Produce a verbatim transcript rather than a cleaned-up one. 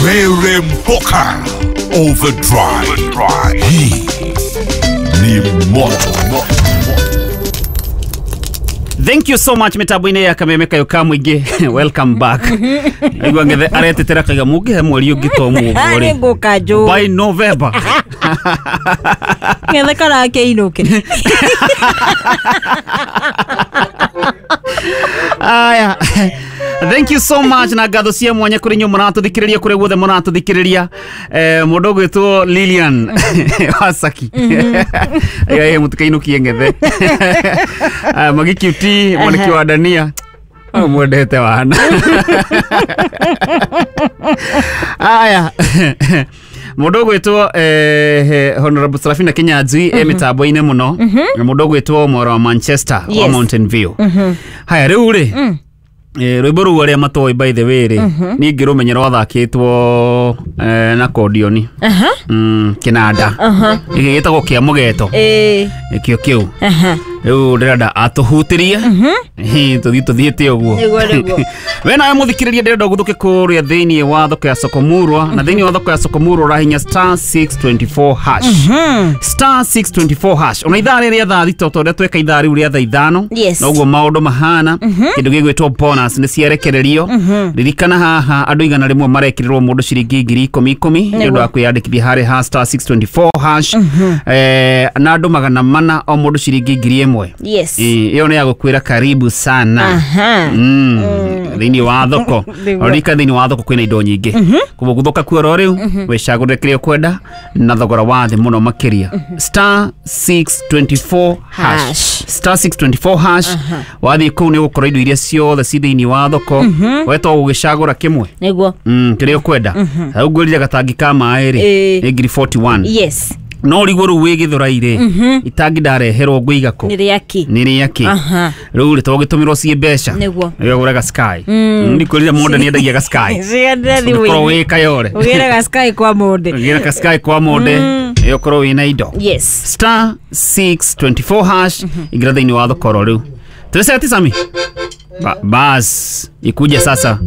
Rere Mpoka Overdrive. Hii ni moto. Thank you so much mitambo-inĩ ya Kameme Kayo ka mũingĩ. Welcome back. Aigua ngethe aretetera kaiga mũngĩhe mweri ũngĩ to mũguo rĩ. Nĩngũka njũĩ. By November. Ngethe karakĩinũke. Aya. Thank you so much na ngatho cia mwanya kũrĩ inyuĩ mũratũthikĩrĩria kũrĩa guothe mũratũthikĩrĩria. Eh, mũndũ ũgwĩtwo Lilian Wasaki. Aya mũtikainũkie ngethe. Ah, Magi Q T mwaniki wa Dania. Oh, mwendete wana. Aya. Mũndũ ũgwĩtwo eh, Honorable Serafina Kinyanjui e mĩtambo-inĩ mũno. Mũndũ ũgwĩtwo Mwara wa Manchester wa Yes. Mountain View. Haya rĩu rĩ Eh, rwĩmbo rũu arĩa matoĩ by the way rĩ niĩ ngĩrũmenya rwathakĩtwo eh, na kondioni Aha. mm, kĩnanda gĩkĩ gĩtagwo kĩa mũgeto Ĩĩ. nĩkĩo kĩu Aha. rĩu ndĩrenda atũhutĩrie Hĩ, tũthiĩ tũthiĩte ũguo Nĩguo, nĩguo. We nawe mũthikĩrĩria ndĩrenda ũguthũke kũrĩa thĩinĩ wa thoko ya Sokomurwa na thĩinĩ wa thoko ya Sokomurwa ũrahinya star six twenty-four hash star six twenty-four hash ona ithaa rĩrĩa thaa thita ta ũrĩa tweka ithaa rĩu rĩa thaa ithano Yes. noguo maũndũ mahana kĩndũ gĩgwĩtwo bonus nĩ ciarekererio ririkana haha andũ igana rĩmwe marekĩrĩrwo mũndũ ciringi ngiri ikũmi ikũmi nĩ ũndũ wa kwĩyandĩkithia harĩ ha star six twenty-four hash eh, na andũ magana mana o mũndũ ciringi ngiri ĩmwe Yes. Ĩ, ĩyo nĩ ya gũkwĩra karibu sana Aha. Mm, thĩinĩ wa thoko Nĩguo. ririkana thĩinĩ wa thoko kwĩna indo nyingĩ koguo gũthũka kuo oro rĩu wĩcagũrĩre kĩrĩa ũkwenda na thogora wa thĩ mũno makĩria star six twenty-four hash Hash. star six twenty-four hash wathiĩ kũu nĩ ũgũkora indo iria ciothe ci thĩinĩ wa thoko we to gũgĩcagũra kĩmwe Nĩguo. Mm, kĩrĩa ũkwenda rĩu ngwĩrire gatangi ka maĩ rĩ Ĩĩ. nĩ ngiri forty-one Yes. no riguo rĩu wĩ Gĩthũrai rĩ itangi ndareherwo ngũiga kũ Nĩ rĩaki. nĩ rĩakĩ Aha. rĩu rĩ to gĩtũmĩrwo ciĩ mbeca Nĩguo. ũgũraga Sky ndikwĩrire monde nĩ endagia ga Sky Ciganĩre ũkorwo thimũ-inĩ. wĩ Kayore Ũgĩre ga Sky kwa monde. ũgĩre ka Sky kwa monde ĩ ũkorwo wĩna indo Yes. star six twenty-four hash ingĩra thĩinĩ wa thoko oro rĩu tũrĩceti Sami Ba, bas ikuja sasa.